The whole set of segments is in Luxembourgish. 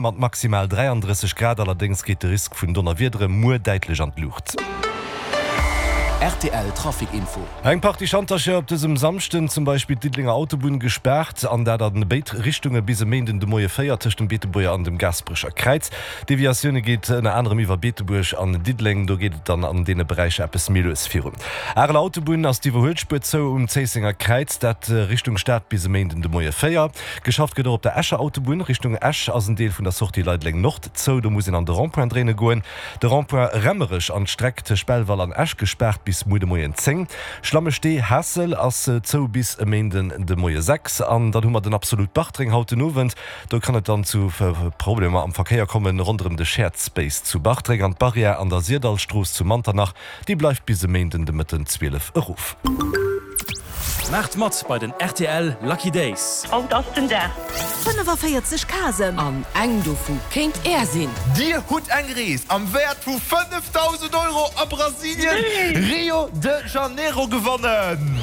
Mat maximal 33 Grad allerdéngs geet de Risk vun Donnerwiedere muer däitlech an d'Luucht. Rtl Trafic Info. Eng Partie Schantercher op dësem Samschden, zum Beispill d'Diddelenger Autobunn gespaart an dat a béid Richtunge bis e Méinden de Moie 4 tëscht dem Beetebuerger an dem Gaasperecher Kräiz. Deviatioune geet ënner anerem iwwer Beetebuerg an Diddeleng, do geet et dann an deene Beräicher eppes méi lues virun. Areler Autobunn ass d'Iwwerhuelspuer zou um Zéissenger Kräiz, dat Richtung Stad bis e Méinden de Moie 4. Geschafft gëtt och op der Escher Autobunn. Richtung Esch ass en Deel vun der Sortie Leideleng Nord zou. Do muss een an de Rond-point dréine goen. De Rond-point Remmerech an d'Streck tëscht Belval an Esch gespaart bis muer de Moien 10. Schlammestee Haassel ass zou bis e Méinden de Moie 6. An dann hu mer den Absolut Bartreng haut den Owend. Do kann et dann zu Problemer am Verkéier kommen ronderëm de Shared Space zu Bartreng. An d'Barrière an der Syrdallstrooss zu Manternach, déi bleift bis e Méinden de Mëtten 12 erof. Maacht mat bei den rtl Lucky Days! Haut ass den Dag! 45 Casen. An eng dovu kéint Är sinn! Dir hutt eng Rees am Wäert vu 5.000 Euro a Brasilien, Rio de Janeiro gewonnen!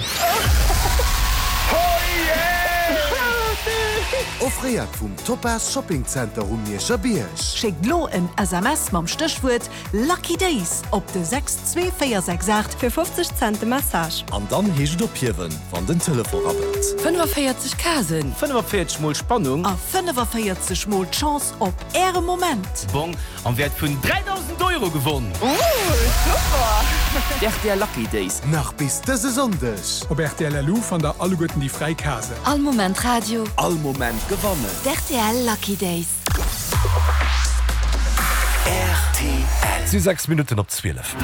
Offréiert vum Topaz Shopping Center um Mierscher Bierg. Schéckt lo en SMS mam Stéchwuert Lucky Days op de 62468. Fir 50 Cent de Message. An dann heescht et ophiewen, wann den Telefon rabbelt. 45 Casen. 45 mol Spannung. A 45 mol d'Chance op Äre Moment. Bong am Wäert vun 3.000 Euro gewonn! Ooh, super! D'RTL Lucky Days. Nach bis dëse Sonndeg. Op rtl LU fannt der alleguerten déi fräi Casen. All Moment Radio. All Moment gewannen. D'RTL Lucky Days. Rtl. Et si 6 Minutten op 12.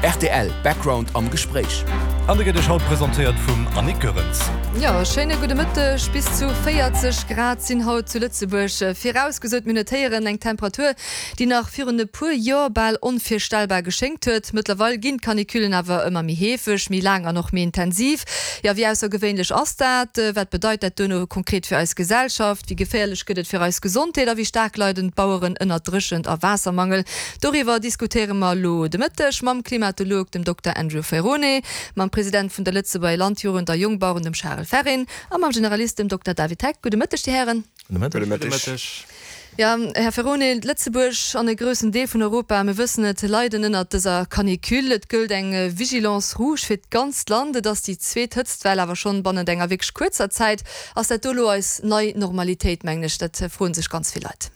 Rtl Background am Gespréich. An de gëtt Iech haut presentéiert vum Annick Goerens. Jo, schéine gudde Mëtteg. Bis zu 40 Grad sinn haut zu Lëtzebuerg virausgesot. Mir notéieren eng Temperatur, déi nach virun e puer Joer bal onvirstellbar geschéngt huet. Mëttlerweil ginn d'Canicullen awer ëmmer méi heefeg, méi laang an och méi intensiv. Jo, wéi aussergewéinlech ass dat? Wat bedeit dat duerno konkret fir eis Gesellschaft? Wéi geféierlech gëtt et fir eis Gesondheet a wéi staark leiden d'Baueren ënnert Dréchent a Waassermangel? Doriwwer diskutéiere mer elo de Mëtteg mam Klimatolog, dem Dokter Andrew Ferrone, mam President vun der Lëtzebuerger Landjugend a Jongbaueren, dem Charel Ferrin, a mam Generalist, dem Dokter David Heck. Gudde Mëtteg, Dir Hären. Gudde Mëtteg. Jo, Här Ferrone, Lëtzebuerg an e groussen Deel vun Europa, mir wëssen et, leiden ënnert dëser Canicule. Et gëllt eng Vigilance rouge fir d'ganzt Land. Et ass déi zweet Hëtztwell, awer schonn bannent enger wierklech kuerzer Zäit. Ass dat do elo eis nei Normalitéit, mengen ech? Dat froe sech ganz vill Leit.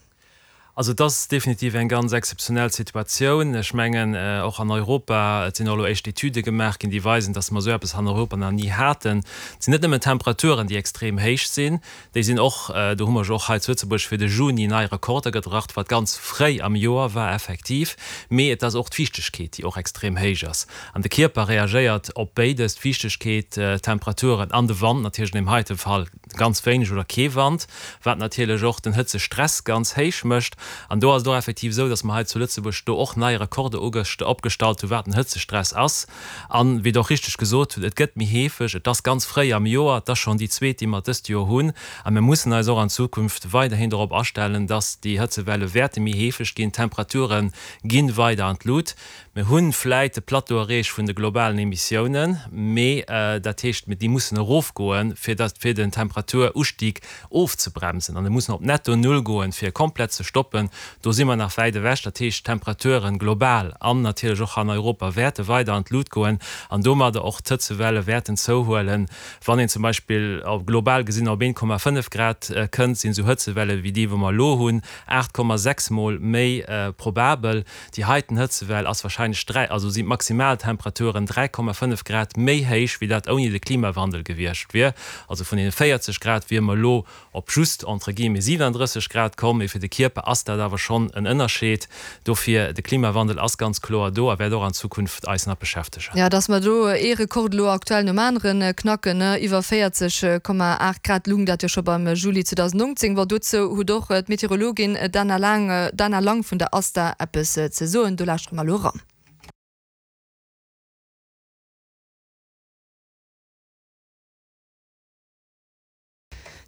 Also et ass definitiv eng ganz exzeptionell Situatioun. Ech mengen, och an Europa, et sinn och elo éischt Etüde gemaach ginn, déi weisen, datt mer esou eppes an Europa nach ni haten. Et sinn net nëmmen d'Temperaturen, déi extrem héich sinn, déi sinn och, do hu mer jo och hei zu Lëtzebuerg fir de Juni nei Rekorder gebracht, wat ganz fréi am Joer war effektiv, mee et ass och d'Fiichtegkeet, déi och extrem héich ass. An de Kierper reagéiert op béides, d'Fiichtegkeet, d'Temperaturen an de Wand natierlech, an deem heite Fall ganz wéineg oder kee Wand, wat natierlech och den Hëtzestress ganz héich mécht. An do ass et och effektiv esou, datt mer hei zu Lëtzebuerg do och nei Rekorde opgestallt hunn, wat den Hëtzestress ass. An, wéi Der och richteg gesot hutt, et gëtt méi heefeg, et ass ganz fréi am Joer, et ass schonn déi zweet, déi mer dëst Joer hunn. A mir mussen eis och an Zukunft weiderhin dorop astellen, datt déi Hëtzewelle wäerte méi heefeg ginn, d'Temperature gi weider an d'Lut. Mir hu vläit de Plateau erreecht vun de globalen Emissiounen, mee dat heescht, déi mussen erofgoen, fir datt, fir den Temperaturustieg ofzebremsen. An e mussen op netto Null goen, fir e komplett ze stoppen. Do si mer nach wäit ewech. Dat heescht, d'Temperaturen global an natierlech och hei an Europa wäerte weider an d'Lut goen an domadder och d'Hëtzewelle wäerten zouhuelen. Wann een zum Beispill global gesinn op 1,5 Grad kënnt, sinn esou Hëtzewelle wéi déi, wou mer elo hunn, 8,6 mol méi probabel. Déi heiten Hëtzewell ass warscheinlech 3, also sinn d'Maximaltemperaturen 3,5 Grad méi héich, wéi dat ouni de Klimawandel gewiescht wier. Also vun deene 40 Grad wier mer elo op just entre guillemets 37 Grad komm. Mee fir de Kierper ass dat awer schonn en Ënnerscheed. Dofir, de Klimawandel ass ganz kloer do a wäert och an Zukunft eis nach beschäftegen. Jo, dass mer do ee Rekord elo aktuell nom anere knacken, ne, iwwer 40,8 Grad lung dat jo scho beim Juli 2019. Bon, dozou huet och d'Meteorologin Dana Lang, Dana Lang vun der ASTA eppes ze soen. Do lauschtere mer elo eran.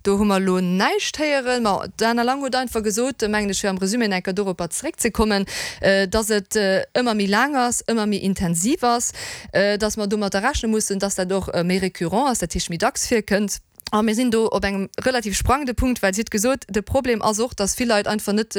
Do hu mer elo näischt héieren. Ma d'Dana Lang huet einfach gesot, mengen ech, fir am Resumé nach eng Kéier doropper zeréckzekommen, dass et ëmmer méi laang ass, ëmmer méi intensiv ass, dass mer domatter rechne mussen, dass dat och méi récurrent ass, dat heescht méi dacks virkënnt. A mir sinn do op engem relativ sprangende Punkt, well si huet gesot, de Problem ass och, dass vill Leit einfach net.